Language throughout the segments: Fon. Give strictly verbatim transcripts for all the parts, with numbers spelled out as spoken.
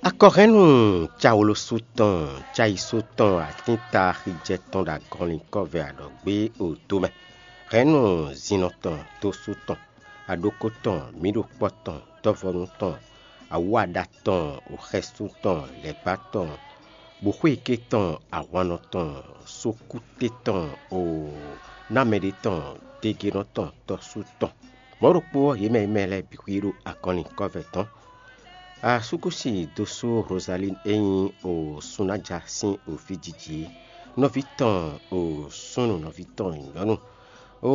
Akɔhɛ́nnu cawlosu tɔn, cayisú tɔn, atínta xijɛ tɔn ɖo agɔnlin kɔ́vɛ aɖɔ̌gbé odo mɛ. Hɛ̌nnu zinnɔ tɔn, dósú tɔn, aɖókó tɔn, mǐɖokpɔ́ tɔn, dɔ́vɔ́nú tɔn, awǎɖa tɔn, xɛsú tɔn, lɛ̌gbá tɔn, bǔxwíké tɔn, ahwannɔ tɔn, sókúté tɔn, o námɛɖé tɔn, degenɔ tɔn, tɔ́sú tɔn. Mɔ̌ ɖokpó ɔ́, yě mɛ e mɛ lɛ́ɛ bǐ xwíí ɖo agɔnlin kɔ́vɛ tɔn. Asúkúsi dósú Rozalín e nyí o Sunája sín o fíjiji é, nɔví tɔn o súnnu, nɔví tɔn nyɔ̌nu, o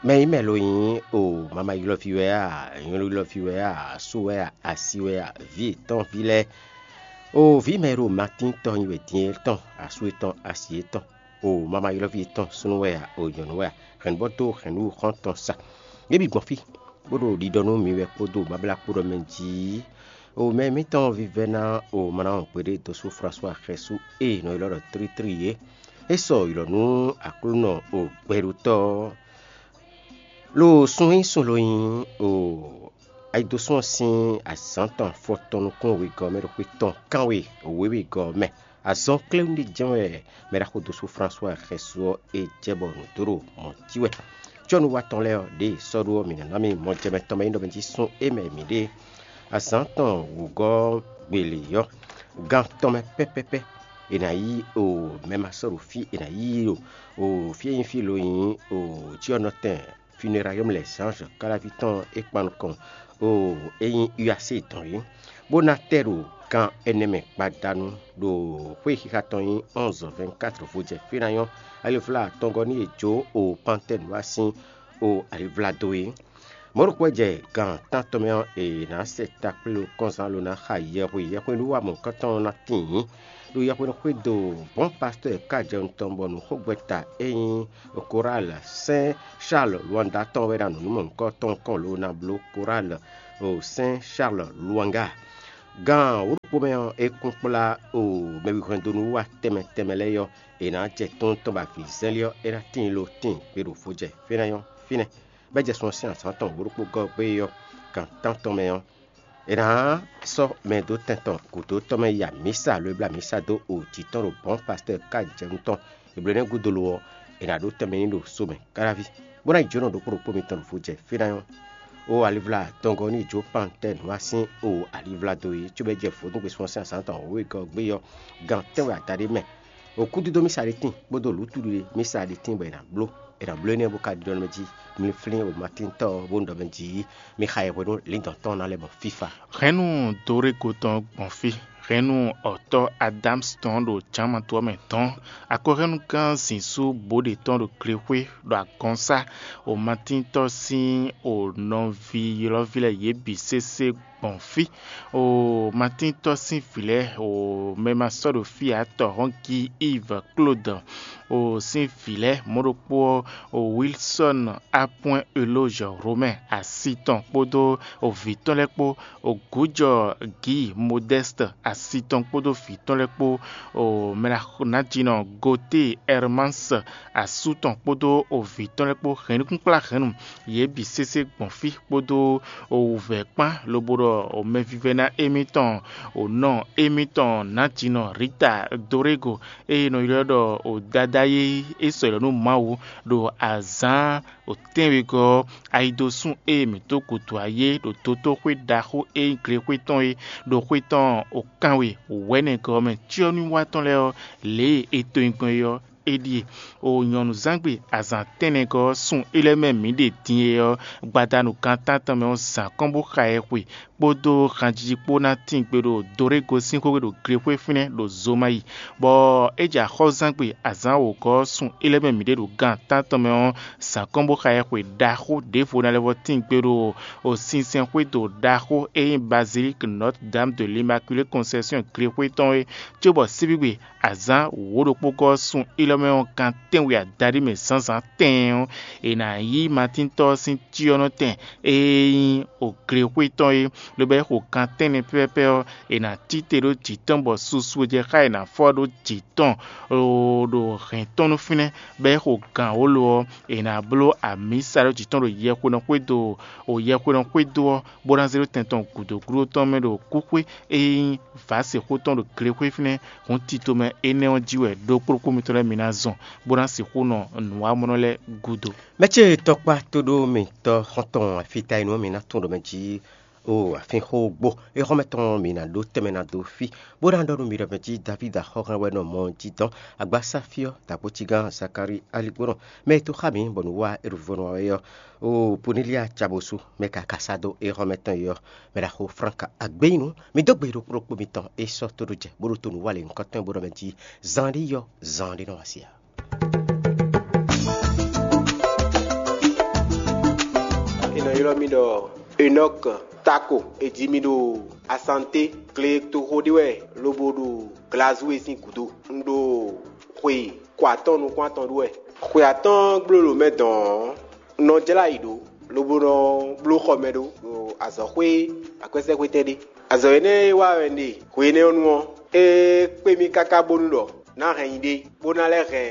mɛ e mɛ lo nyí o mama ylɔ́ví wɛ a, nyɔ̌nu ylɔ́ví wɛ a, asú wɛ a, asi wɛ a, vǐ yětɔn ví lɛ́ɛ, o vǐ mɛ e ɖo Matín tɔn nyi wɛ din é tɔn, asú yětɔn, asi yětɔn, o mama ylɔ́ví yětɔn súnnu wɛ a, o nyɔ̌nu wɛ a, hɛ̌nnu bɔ dó hɛ̌nnu xɔ́ntɔn sa. Yě bǐ gbɔn fí, bó ɖo ɖiɖɔ nú mi wɛ kpódó bablá kpó ɖɔ mɛ jí. O mɛ mǐtɔn vívɛ́ná o mlawun gbeɖé dósú Flasuwa xɛsú e è nɔ ylɔ́ ɖɔ Tlítlí é, é sɔ ylɔ̌ nú Aklúnɔ o gbɛɖutɔ́ ɔ́. Lo sun e nyí sun lo nyí o ayidosún ɔ́ sín azǎn tɔn afɔtɔn nukún wegɔ́ ɔ́ mɛ ɖo xwé tɔn kánwe wěwegɔ́ ɔ́ mɛ. Azɔn kléwún ɖé jɛ́n wɛ mɛ ɖaxó dósú Flasuwa xɛsú ɔ́ e jɛ bɔ nǔ dó ɖo mɔ̌ jí wɛ. Cɔ́nuwa tɔn lɛ́ɛ ɔ́, ɖěe è sɔ́ ɖó ɔ́, mǐ ná ná mì mɔjɛmɛ tɔn mɛ nyí ɖɔ mɛ jí sún é mɛ mǐ ɖe. Azǎn tɔn wǔgɔ́ gbele ɔ́, gan tɔn mɛ pɛ́pɛ́pɛ́, è nǎ yí o mɛ ma sɔ́ ɖo fí, è nǎ yí i ɖo o fí e nyí fí lo nyí o cyɔ́nɔtɛn Funerayɔ́mu lɛ́ Zǎnzɔ Káláví tɔn e kpan nukɔn o e nyí U A C tɔn é, bó ná tɛ ɖo gan ɛnɛ mɛ gbadanu ɖo xwé xixa tɔn nyí onze vingt-quatre vo jɛ fí ná nyɔ́ alivla atɔngɔ́ nú yě jó o Pantɛ́nu wá sín o alivla dó é. Mɔ̌ ɖokpó wɛ jɛ gan tántɔn mɛ ɔ́, è nǎ sɛ takplé ɖo kɔnzán lo ná xa yɛhwe yɛhweɖúwamɔ̌kɔ́tɔn ɔ́ ná tíin ɖo yɛhweɖúxwédo Bɔ̌n Pastɛ́ɛ Kajɛnu tɔn bɔ nǔxogbɛ́ta e nyí Korál Sɛ́n Charles Luanda tɔn wɛ ɖo anɔ̌numɔnukɔ́ tɔn kɔn lo ná bló Korál o Sɛ́n Charles Luanga. Gan wǒ ɖokpó mɛ ɔ́, é kún kplá o mɛwihwɛ́ndónúwa tɛnmɛ tɛnmɛ lɛ́ɛ ɔ́, è nǎ jɛ tɔ́n tɔn bɔ avǐzɛ́nlí ɔ́, é ná tíin lo tíin gbe ɖo vo jɛ fínɛ́ ɔ́ fínɛ́. Bɔ é jɛ sun ɔ́ sín azǎn tɔn wǒ ɖokpó gɔ́ gbé ɔ́, gan tántɔn mɛ ɔ́, è nǎ sɔ́ mɛ dó tɛn tɔn gǔdo tɔn mɛ yi amǐsa, lo e bló amǐsa dó o jǐ tɔn ɖo Bɔ̌n Pastɛ́ɛ Kajɛnu tɔn Ebléwúnɛ́ gúdo lo ɔ́, è nǎ ɖó tɛnmɛ n'i ɖo so mɛ káɖáví, bó ná yi jǒnɔ ɖokpó ɖokpó mitɔn ɖo vo jɛ fí ná nyɔ́. O alivla dɔngɔ́ ní jó Pantɛ́ɛ nǔ wá sín o alivla dó é, cóbɔ é jɛ vodúngbe sɔ́ sín azǎn tɔn wěwegɔ́ gbé ɔ́, gan tɛ́nwe adaɖé mɛ. O kúdídó mísa ɖé tíin kpódó lǔtúɖiɖe mísa ɖé tíin bɔ è nǎ bló. È nǎ bló énɛ́ bó ka ɖiɖɔ nú mɛ jí: Mi flín o Matíntɔ́ ɔ́, bó ɖɔ mɛ jí: Mi xa yɛhweɖó lǐndɔ̌n tɔn ná lɛ́ bɔ fífa. Hɛ̌nnu Dorego tɔn gbɔn fí. Hɛ̌nnu ɔ̌tɔ́ Adámsi tɔn ɖo jǎnmatu ɔ́ mɛ dɔn. Akɔhɛ́nnugán zǐnzú bǒ ɖě tɔn ɖo glexwé ɖo agɔnsá. O Matíntɔ́ sín o nɔví ylɔ́ví lɛ́ɛ yě bǐ sésé gbɔn fí. O Matíntɔ́ sín vǐ lɛ́ɛ, o mɛ ma sɔ́ ɖo fí ǎ, tɔhɔ́n Gi Ive Klódɔ, o sín vǐ lɛ́ɛ mɔ̌ ɖokpó ɔ́, o Wilsɔ́n Apwɛ́n Elózhɛ Romɛ́ asi tɔn kpódó o vǐ tɔn lɛ́ɛ kpó, o gǔjɔ Gǐ Modɛ́st asi tɔn kpódó vǐ tɔn lɛ́ɛ kpó, o mɛ ɖaxó nǎjínɔ Goté Ɛrmáns asú tɔn kpódó o vǐ tɔn lɛ́ɛ kpó, hɛ̌nnukúnkplá hɛ̌nnu yě bǐ sésé gbɔn fí kpódó o wǔvɛ́ kpán, lobo ɖɔ o mɛvívɛ́ná émítɔn, o nɔ émítɔn nǎjínɔ Rita Dorego, ée è nɔ ylɔ́ ɖɔ o Dadá é, é sɔ́ ylɔ́ nú Mawu ɖo azǎn o tɛ́nwegɔ́ ɔ́, ayidosún e mǐ dó gǔdo ayé ɖo dotóxwé ɖaxó e nyí glexwé tɔn é ɖo xwé tɔn o kanwe wɛ̌nɛgɔ́ ɔ́ mɛ. Cyɔ́núwa tɔn lɛ́ɛ ɔ́, lě e è to nyi gbɔn é ɔ́, é ɖíe: o nyɔ̌nuzángbe azǎn tɛ́nnɛgɔ́ ɔ́, sun é lɛ́ɛ mɛ mǐ ɖe din é ɔ́, gbadanu gan tántɔn mɛ ɔ́, zǎn kɔn bó xa ɛ xwe, kpódó hanjiji kpó ná tín gbe ɖo Dorego sín xwé ɖo glexwé fínɛ́ ɖo Zomayi, bɔ é jɛ axɔ́zángbe azǎn wǒgɔ́ ɔ́, sun é lɛ́ɛ mɛ mǐ ɖe ɖo gan tántɔn mɛ ɔ́, zǎn kɔn bó xa ɛ xwe ɖaxó ɖěvo ná lɛ́ vɔ́ tín gbe ɖo o sinsɛnxwédo ɖaxó e nyí Bazilík Notre Dame de l'Immaculée Conception glexwé tɔn é, cóbɔ síbígbe azǎn wǒ ɖokpó gɔ́ ɔ́, sun é Tɔ́ mɛ ɔ́, gan tɛ́nwe adaɖé mɛ zǎnzǎn tɛɛn ɔ́, è nǎ yí Matíntɔ́ ɔ́ sín cyɔ́nɔtɛn e nyí oglexwé tɔn é, lobo é xo gan tɛ́nnɛ pɛ́pɛ́pɛ́ ɔ́, è nǎ cí te ɖó jǐ tɔn bɔ susu e jɛ xá è nǎ fɔ ɖó jǐ tɔn ɖo hɛ̌n tɔn nú fínɛ́, bɔ é xo gan wǒ lo ɔ́, è nǎ bló amǐsa ɖó jǐ tɔn ɖo yɛhwenɔ xwédo, o yɛhwenɔ xwédo ɔ́, bó ná zé ɖó tɛn tɔn gǔdo gúdo tɔn mɛ ɖo kúxwé e nyí vǎsexó tɔn ɖo glexwé fínɛ́. Hǔn tito mɛ énɛ́ ɔ́ jí wɛ ɖokpó ɖokpó mitɔn lɛ́ɛ mi ná zɔn, bó ná sixú nɔ nǔwamɔnɔ lɛ́ɛ gúdo. Mɛ ce tɔkpá tóɖó mǐtɔn xɔ́ntɔn afíta e nú mǐ ná tún ɖo mɛ jí o afínxógbó. Éhɔ́mɛ tɔn mǐ ná ɖó tɛnmɛ ná dó fí, bó ná ɖɔ nú mi ɖɔ mɛ jí Davídi axɔ́hɛn wɛ nɔ mɔ jí dɔn agbásáfí ɔ́, dǎgbócígán Zakalíi aligbónɔ, mɛ e tó xá mǐ bɔ nǔ wa é ɖo vo nú wa wɛ ɔ́. O Ponilía Cabosu, mɛ ka ka sá dó éhɔ́mɛ tɔn e ɔ́, mɛ ɖaxó Franka Agbeyinu, mi dó gbe ɖokpó ɖokpó mitɔn e sɔ́ tóɖó jɛ bó ɖo to nǔ wa lě nukɔntɔn bó ɖɔ mɛ jí zan ɖé yɔ, zan ɖé nɔ wá sí ǎ. È nɔ ylɔ́ mì ɖɔ Enɔk Tako. È ji mì ɖo Asanté, gletoxo ɖé wɛ, lobo ɖo Glazúwe sín gǔdo. Un ɖo xwe ko atɔ́ɔ́n nukún atɔn ɖu wɛ. Xwe atɔ́ɔ́n gbló ɖo mɛ dɔn ɔ́, un nɔ jlá yi ɖǒ, lobo nɔ bló xɔ mɛ ɖó ɖo azɔ̌xwé akwɛ́sɛ́xwétɛn ɖé. Azɔ̌ énɛ́ e wa wɛ un ɖe hwe énɛ́ ɔ́ nu ɔ́, é kpé mì káká bónú ɖɔ ná hɛn nyi ɖé, bó ná lɛ́ hɛn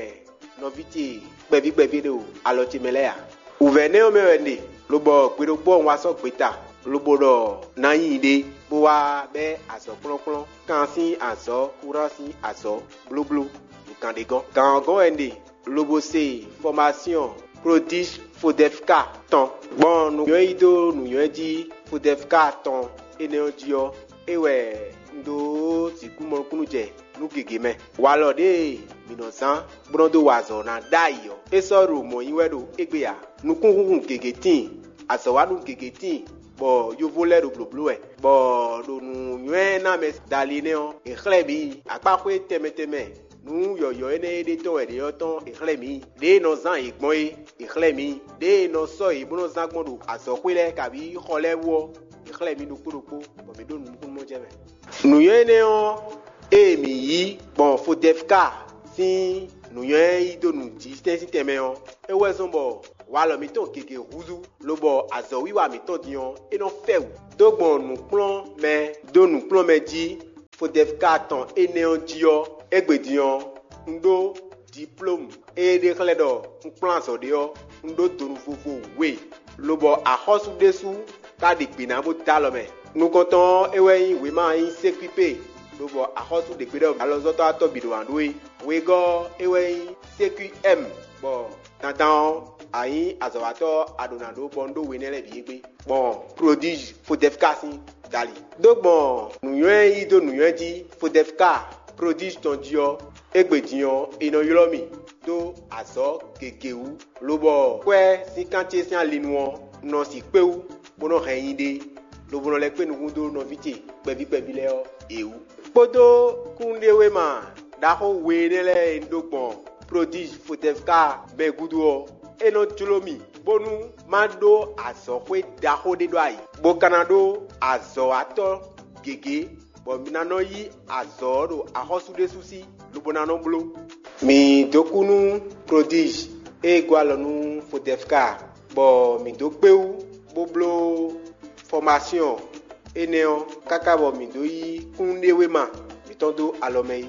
nɔví ce kpɛví kpɛví ɖo alɔ ce mɛ lɛ́ɛ ǎ. Wǔvɛ́ énɛ́ ɔ́ mɛ wɛ un ɖe, lobɔ gbe ɖokpó ɔ́ un wá sɔ́ gbeta, lobo ɖɔ ná nyi ɖé, bó wá bɛ́ azɔ̌ kplɔ́nkplɔ́n, kan sín azɔ̌, kúran sín azɔ̌, blóbló, ɖo gǎn ɖé gɔ́n. Gǎn ɔ́ gɔ́n wɛ un ɖe, lobo se fɔmasyɔn Prodíj Fodɛfka tɔn, gbɔn nǔnywɛ́ yí dó nǔnywɛ́ jí Fodɛfka tɔn énɛ́ ɔ́ jí ɔ́, é wɛ un dó sixú mɔ nukúnnú jɛ nú gěgé mɛ. Walɔ ɖěe mǐ nɔ zán bó nɔ́ dó wa azɔ̌ ná ɖ'ayǐ ɔ́, é sɔ́ ɖo mɔ̌ nyí wɛ ɖo égbé ǎ. Nukúnhúnhun gěgé tíin, azɔ̌wanú gěgé tíin, bɔ yovo lɛ́ɛ ɖo blǒbló wɛ, bɔ ɖo nǔnywɛ́ ná mɛ dali nɛ́ ɔ́, è xlɛ́ mǐ akpáxwé tɛnmɛ tɛnmɛ nǔ yɔ̌yɔ́ énɛ́ e ɖe tɔn wɛ ɖě ɔ́ tɔn è xlɛ́ mǐ. Ɖěe è nɔ zán yě gbɔn é, è xlɛ́ mǐ. Ɖěe è nɔ sɔ́ yě bó nɔ́ zán gbɔn ɖo azɔ̌xwé lɛ́ɛ kabǐ xɔ lɛ́ɛ wú ɔ́, è xlɛ́ mǐ ɖokpó ɖokpó, bɔ mǐ ɖo nǔkúnnú jɛ mɛ. Nǔnywɛ́ énɛ́ ɔ́, ée mǐ yí gbɔn Fodɛfka sín nǔnywɛ́ yí dó nǔjísɛ́n sín tɛnmɛ ɔ́, é wɛ zɔ́n bɔ walɔ mǐtɔn gěgé húzú, lobɔ azɔ̌wiwa mǐtɔn din ɔ́, é nɔ fɛ wǔ. Dó gbɔn nǔkplɔ́nmɛ dó nǔkplɔ́nmɛ jí Fodɛfka tɔn énɛ́ ɔ́ jí ɔ́, égbé din ɔ́, un ɖó diplómu e ɖe xlɛ́ ɖɔ un kplɔ́n azɔ̌ ɖé ɔ́, un ɖó donu vovo we, lobɔ axɔ́sú ɖésú ka ɖe gbe ná bó dó alɔ mɛ. Nukɔntɔn ɔ́, é wɛ nyí wěma e nyí sékpípe, lobɔ axɔ́sú ɖě gbe ɖɔ alɔzɔ́tɔ́ atɔ́ bǐ ɖo wǎn ɖó é. Wegɔ́ ɔ́, é wɛ nyí sékpí ɛ́m, bɔ dandan ɔ́, a nyǐ azɔ̌watɔ́ ɔ́, a ɖǒ ná ɖó bɔ un ɖó we énɛ́ lɛ́ɛ bǐ égbé, gbɔn Prodíj Fodɛfka sín dali. Dó gbɔn nǔnywɛ́ e yí dó nǔnywɛ́ jí Fodɛfka Prodíj tɔn jí ɔ́, égbé din ɔ́, è nɔ ylɔ́ mì dó azɔ̌ gěgé wú, lobɔ kwɛ́ sín kan ce sín alinu ɔ́, un nɔ sixú kpé wú, bó nɔ́ hɛn nyi ɖe, lobo nɔ lɛ́ kpé nukún dó nɔví ce kpɛví kpɛví lɛ́ɛ ɔ́, yě wú. Kpódó kúnnuɖewéma ɖaxó we énɛ́ lɛ́ɛ e un ɖó gbɔn Prodíj Fodɛfka mɛ gúdo ɔ́, é nɔ jló mì, bónú má ɖó azɔ̌xwé ɖaxó ɖé ɖó ayǐ, bó ka ná ɖó azɔ̌watɔ́ gěgé, bɔ mi ná nɔ yí azɔ̌ ɔ́ ɖo axɔ́sú ɖésú sí, lobo ná nɔ bló. Mǐ dó kú nú Prodíj e gɔ́ alɔ nú Fodɛfka, bɔ mǐ dó kpé wú, bó bló fɔmasyɔn énɛ́ ɔ́, káká bɔ mǐ dó yí kúnnuɖewéma mǐtɔn dó alɔ mɛ é.